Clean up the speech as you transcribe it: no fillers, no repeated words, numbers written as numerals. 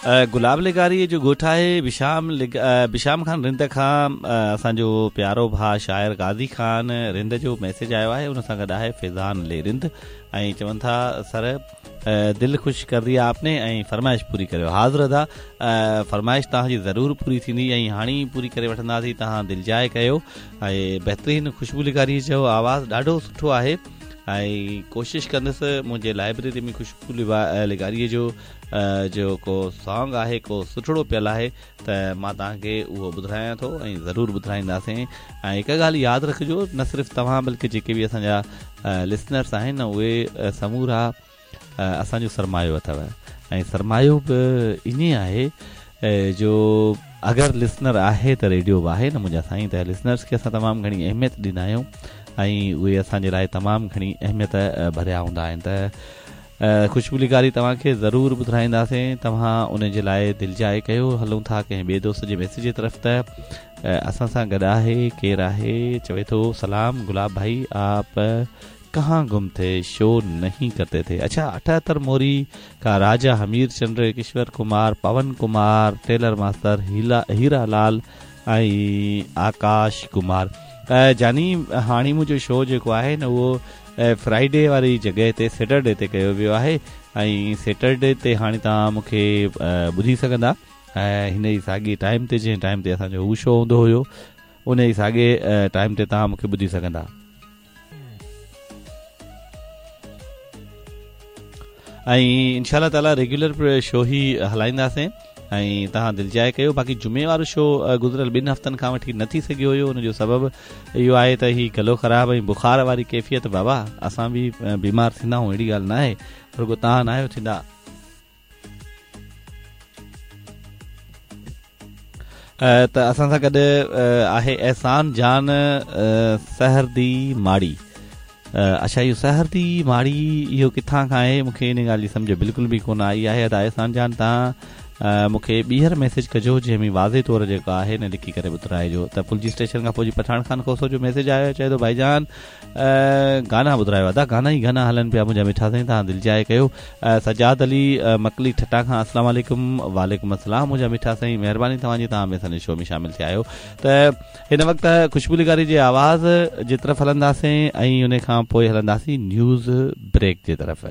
گلاب لغاري جو ڳوٺ آهي بشام بشام خان رند کان اسان جو پيارو ڀاء شاعر غازي خان رند جو ميسيج آيو آهي ان سان گڏ آهي فيضان علي رند ۽ چون ٿا سر دل خوش ڪر ديا آپ ني ۽ فرمائش پوري ڪريو حاضر ادا فرمائش توهان جي ضرور پوري ٿيندي ۽ هاڻي ئي پوري ڪري وٺنداسين توهان دلجاء ڪيو ۽ بهترين خوشبو لغاري جو آواز ڏاڍو سٺو آهي ۽ ڪوشش ڪندس منهنجي لائبريري ۾ خوشبو لغاري جو جو ڪو سانگ آهي ڪو سٺڙو پيل آهي ته مان توهان کي اهو ٻڌرايان ٿو ۽ ضرور ٻڌرائينداسين ۽ هڪ ڳالهه ياد رکجو نه صرف توهان بلڪه جيڪي به اسان جا لسنرس آهن اهي سمورا اسان جو سرمايو اٿو ۽ سرمايو به ائين آهي جو اگر لسنر آهي ته ريڊيو به آهي نه منهنجا سائين ته لسنرس کي اسان تمام گهڻي اهميت ڏيندا آهيون ۽ اهي اسان جي لاء تمام گهڻي اهميت ڀريا هوندا آهن ته خوشبو لغاري توهان کي ضرور ٻڌرائينداسين توهان ان جي لاء دلجاء ڪيو هلون ٿا ڪنهن ٻئي دوست جي ميسيج جي طرف ته اسان سان گڏ آهي ڪير آهي چوي ٿو سلام گلاب ڀائي آپ ڪهان گم ٿي شو نهين ڪرتي ٿي اڇا 78 موري کان راجا همير چنڊ ڪشور ڪمار پون ڪمار ٽيلر ماستر هيرا لال ۽ آڪاش ڪمار جاني هاڻي منهنجو شو جيڪو آهي نه اهو فرائيڊي واري جڳهه تي سيٽرڊي تي ڪيو ويو آهي ۽ سيٽرڊي تي هاڻي توهان مون کي ٻڌي سگهندا ۽ هن ئي ساڳي ٽائيم تي جنهن ٽائيم تي اسان جو هو شو هوندو هيو ان ئي ساڳي ٽائيم تي توهان مون کي ٻڌي سگهندا. ۽ انشاء الله تعالي ريگيولر شو ئي هلائينداسين ۽ توهان دلجاء ڪيو باقي جمعي وارو شو گذريل ٻن هفتن کان وٺي نه ٿي سگهيو هيو ان جو سبب اهو آهي ته هي گلو خراب ۽ بخار واري ڪيفيت بابا اسان به بيمار ٿيندا آهيون اهڙي ڳالهه نه آهي رڳو توهان نه آهيو ٿيندا ته اسان سان گڏ آهي احسان جان سحردي ماڙي اڇا اهو سحردي ماڙي اهو ڪٿان کان آهي مون کي ان ڳالهه جي سمجهه بلڪل به ڪونه آئي آهي ادا احسان جان توهان مون کي ٻيهر ميسيج ڪجو جنهن ۾ واضح طور جيڪو آهي نه لکي ڪري ٻڌرائجو ته ڦلجي اسٽيشن کان فوجي پٺاڻ خان کوسو جو ميسيج آيو چئي ٿو ڀائي جان گانا ٻڌرايو ادا گانا ئي گانا هلن پيا منهنجا مٺا سائين توهان دلجاء ڪيو سجاد علي مڪلي ٺٽا کان السلام عليڪم وعليڪم السلام منهنجا مٺا سائين مهرباني توهان جي توهان به اسان جي شو ۾ شامل ٿيا آهيو ته هن وقت خوشبو لغاري جي آواز جي طرف هلنداسين ۽ ان کان پوء هلنداسين نيوز بريڪ جي طرف.